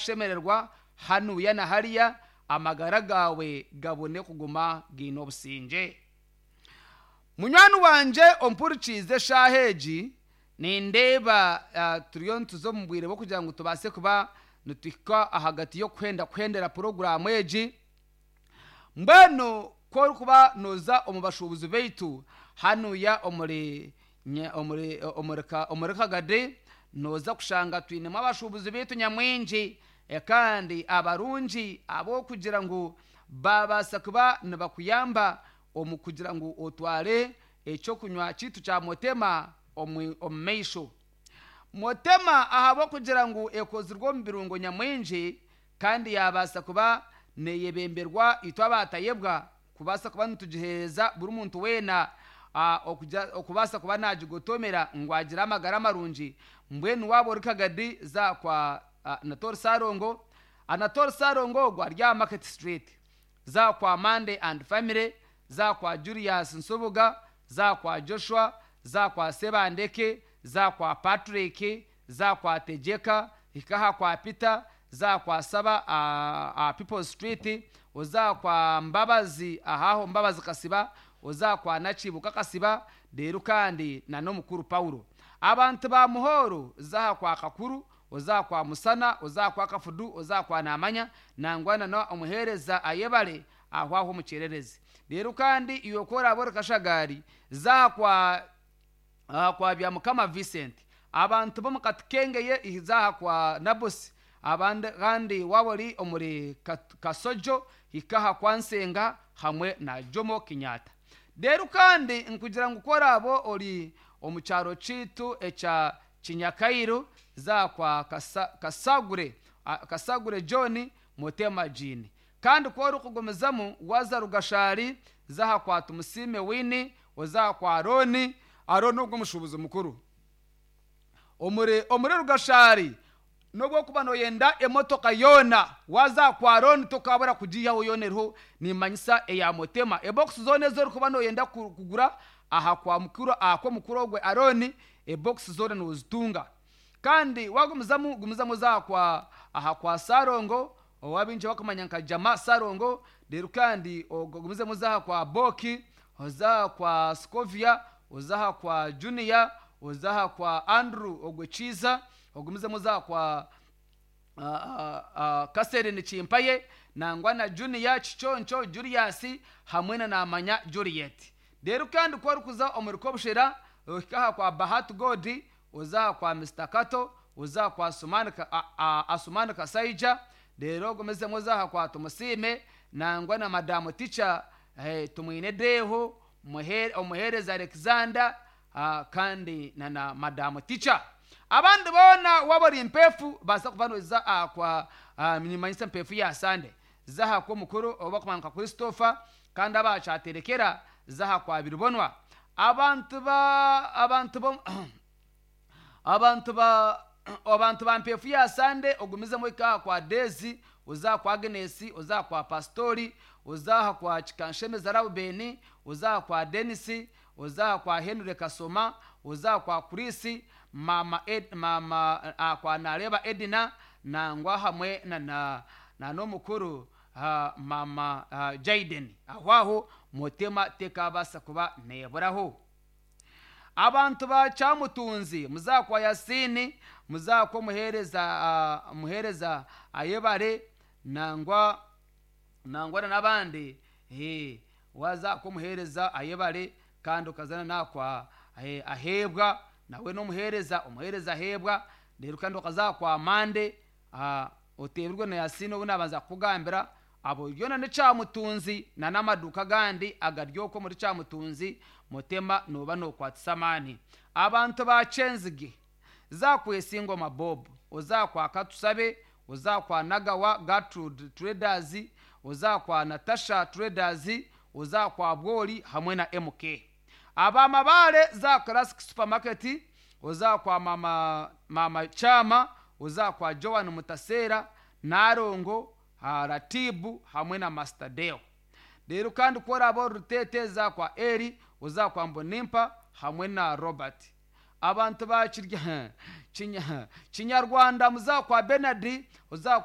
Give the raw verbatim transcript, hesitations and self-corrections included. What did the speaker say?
Okushemererwa hanuya na hariya, amagara gaawe gabone kuguma gaine obusingye. Munywani wangye ompurikiize eshaaha egi, nindeeba uh, turiyo nituza omu bwire bw'okugira ngu tubaase kuba nituhika ahagati y'okuhenda kuhendera puroguraamu egi. Mbwenu ku orikuba nooza omu bashuubuzi baitu hanuya omuri nya- omuri omuri ka- omuri Kagadi, nooza kushanga twinemu abashuubuzi baitu nyamwingi eh, kandi abarungi ab'okugira ngu babaasa kuba nibakuyamba omu kugira ngu otware ekyokunywa kiitu kya Motema omu omu maisho. Motema ahabw'okugira ngu ekozirwe omu birungo nyamwingi kandi yabaasa kuba neyebemberwa itwe abatayebwa kubaasa kuba nitugiheereza buri muntu weena ah, okugira- okubaasa kuba nagigotomera ngu agire amagara marungi. Mbwenu waaba ori Kagadi, za kwa ah, Natori Sarongo. Anatori Sarongo ogwo ari aha Market Street. Za kwa Mande and Family, za kwa Julius Nsubuga, za kwa Joshua, za kwa Sebandeke, za kwa Patrick, za kwa Tejeka, hikaha kwa Peter, za kwa Saba uh, uh, People Street, oza kwa Mbabazi ahaho Mbabazi Kasiba, oza kwa Nakibuka Kasiba, rero kandi na n'omukuru Paulo. Abantu ba Muhoro, zaha kwa Kakuru, oza kwa Musana, oza kwa Kafudu, oza kwa Namanya, nangwana na omuheereza Ayebale aho aho omukyererezi. Rero kandi iwe ku oraaba ori Kashagari, zaha kwa aha kwa Byamukama Vincent. Abantu b'omu Katukengeye, zaha kwa Nabosi. Abandi kandi waaba ori omuri Kat- Kasojo, hikaha kwa Nsenga hamwe na Jomo Kenyatta. Rero kandi nkugira ngu ku oraaba ori omu kyaro kiitu ekya Kinyakairu, za kwa Kasa, Kasagure a- Kasagure John Motema Jean. Kandi ku orikugumizamu waza Rugashari, zaha kwa Tumusiime Wini, ozaha kwa Aroni. Aroni ogwo omushuubuzi mukuru omuri omuri Rugashari. Nobwokuba noyenda emotoka yoona, waza kwa Aroni tokabura kugiihaho, yoona eriho nimanyisa eya Motema. Ebokisi zoona ezorikuba noyenda ku- kugura aha kwa mukuru, aha kwa mukuru ogwe Aroni, ebokisi zoona nozitunga. Kandi wagumizamu gumizamu oza kwa aha kwa Sarongo, owabingi bakumanya nka Jama Sarongo. Rero kandi ogumizemu oza aha kwa Boki, oza kwa Scovia, oza aha kwa Junior, oza aha kwa Andrew ogwe Kiiza, ogumizemu oza aha kwa uh, uh, Kaserini Kimpaye, nangwa na Junior Kiconco Julius hamwe na Namanya Juliet. Rero kandi ku orikuza omuri Kobushera, ohika aha kwa Bahati Godi, oza aha kwa Mister Kato, oza aha kwa Asumani Ka- a- a- Asumani Kasaija. Rero ogumizemu oza aha kwa Tumusiime, nangwa na Madamu Ticha eh, Tumwine Deho, Muhere- omuheereza Alexander, ah, kandi na na Madamu Ticha. Abandi boona waba ori Mpeefu, baasa kuba noza aha kwa ah, nimanyisa Mpeefu ya Sande, zaha kw'omukuru oba kumanya nka Christopher. Kandi abakyaterekera, zaha kwa Biribonwa. Abantu ba abantu bo abantu ba abantu ba Mpefu ya Sande, ogumizemu ikaha kwa Dezi, uzaha kwa Agnesi, uzaha kwa Pastori, uzaha kwa Kikanshemeza Raubeni, uzaha kwa Denisi, uzaha kwa Henry Kasoma, uzaha kwa Kurisi mama Ed, mama uh, kwa Nareba Edina, nangwa hamwe na na, na n'omukuru uh, mama uh, Jaden. Aho aho Motema tekabasa kuba neburaho. Abantu ba Cyamutunzi, muzakwa Yasini, muzakwa muhereza uh, muhereza Ayebare, nangwa nangwa na n'abandi. eh, waza ko muhereza Ayebare, kandi ukazana nakwa eh, Ahebwa, nawe n'omuhereza omuhereza Ahebwa. Rero kandi ukazakwa Mande uh, otebirwe na Yasini obu nabanza kukugambira abo byona ni Cyamutunzi na n'amaduka gandi agaryoko muri Cyamutunzi. Mutema noba nokwatisa amaani. Abantu ba Kyenzige, zakwesa ingoma Bob, ozakwa Katusabe, ozakwa Nagawa Gertrude Traders, ozakwa Natasha Traders, ozakwa Bwoli hamwe na M K. Abamabale, za Classic Supermarket, ozakwa mama mama Chama, ozakwa Joan Mutasera, Narongo ah, Ratibu hamwe na Master Deo. Rero kandi ko oraba Rutete, zakwa Eri, uzakwa Mbonimpa hamwe na Robert. Abantu ba Kirya- Kinya- kinyarwanda, muzakwa Benard, uzakwa